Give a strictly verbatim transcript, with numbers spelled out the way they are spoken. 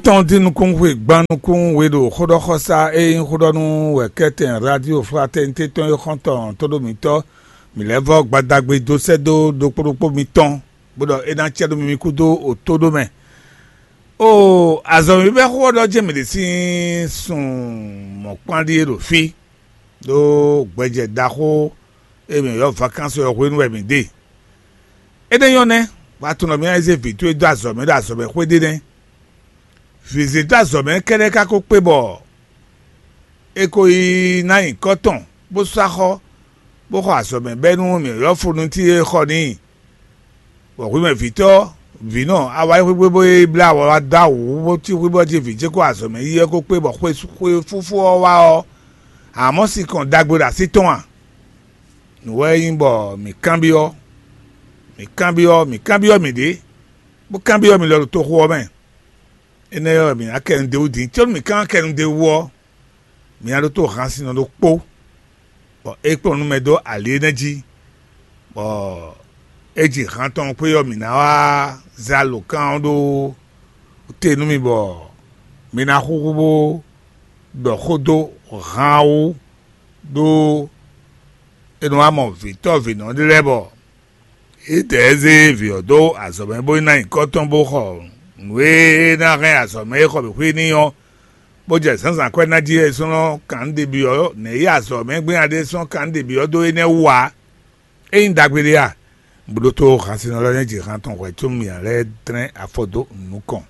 Tɔn dín nukún xwe gbán nukún we ɖo xóɖɔxɔsá e nyí xóɖɔnú wɛ kɛ́tɛn Radio Fraternité tɔn e xɔ́ntɔn tó ɖó mǐtɔn mǐ lɛ́ vɔ́ gbadagbe dó sɛ́ dó ɖokpó ɖokpó mitɔn, bó ɖɔ é ná cɛ ɖó mi kúdó o tó ɖó mɛ. O azɔ̌ mi bɛ́ xó ɔ́ ɖɔ jɛ́n mǐ ɖe sín sun mɔ̌kpán ɖíe ɖo fí, ɖó gbɛjɛ ɖaxó e mǐ ylɔ́ vakansi ɔ́ hwenu wɛ mǐ ɖe. Énɛ́ nyɔ́ nɛ́, wá tunɔ mì ná yi zé vǐ towe dó azɔ̌ mɛ ɖo azɔ̌ mɛ xwé ɖé nɛ́. Vǐ zé dó azɔ̌ mɛ kɛ́ɖɛ́ ka ko kpé bɔ é ko yi ná nyǐkɔ tɔn, bó sú axɔ́, bó xɔ azɔ̌ mɛ bɛ́ nú mǐ ylɔ́ funu cí e xɔ n'i. Bɔ hwi mɛ vǐtɔ́, vǐnɔ, a wá yi xwé bó yi blá wɔ wá dó awǔ bó cí xwé bɔ jí vǐ ce ko azɔ̌ mɛ yi ɔ́ ko kpé bɔ xwe xwe fúfú ɔ́ wá ɔ́, a mɔ sinkɔn ɖagbe ɖo así tɔn a? Nǔ wɛ é nyí bɔ mǐ kanbyɔ́, mǐ kanbyɔ́, mǐ kanbyɔ́ mǐɖée, bó kanbyɔ́ mǐ lɔ ɖo toxo ɔ́ mɛ. Énɛ́ ɔ́, mǐ ná kɛ nu d'é wú din, có nú mǐ ka ná kɛ nu d'é wú ɔ́, mǐ ná ɖótó hansinnɔ ɖokpó, bɔ é kplɔ́n nú mɛ dó ali énɛ́ jí, bɔ é ji han tɔn xwé ɔ́, mǐ ná wá zé alǒkan ɔ́ ɖó te nú mi, bɔ mi ná xúxú bó ɖɔ xó dó han ɔ́ wú, ɖó é nɔ wá mɔ vǐtɔ́ vǐnɔ ɖé lɛ́ɛ bɔ é dɛ ɛ zé vǐ ɔ́ dó azɔ̌ mɛ bó yi ná nyǐkɔ tɔn bó xɔ nǔ e ná hɛn azɔ̌ mɛ e xɔ mǐ xwé n'i ɔ́, bó jɛ zǎnzǎn kwɛ́ ná jí é sɔ́ nɔ kan nǔ ɖe byɔ́ nɛ̌ yi azɔ̌ mɛ gbéná ɖé sɔ́ kan nǔ ɖe byɔ́ dó énɛ́ wú ǎ. É nyí ɖagbe ɖé a? Bó ɖótó hansinɔ lɛ́ɛ nɛ́ ji han tɔn hwɛ̌ có mǐ ná lɛ́ dlɛ́n afɔ dó nukɔn.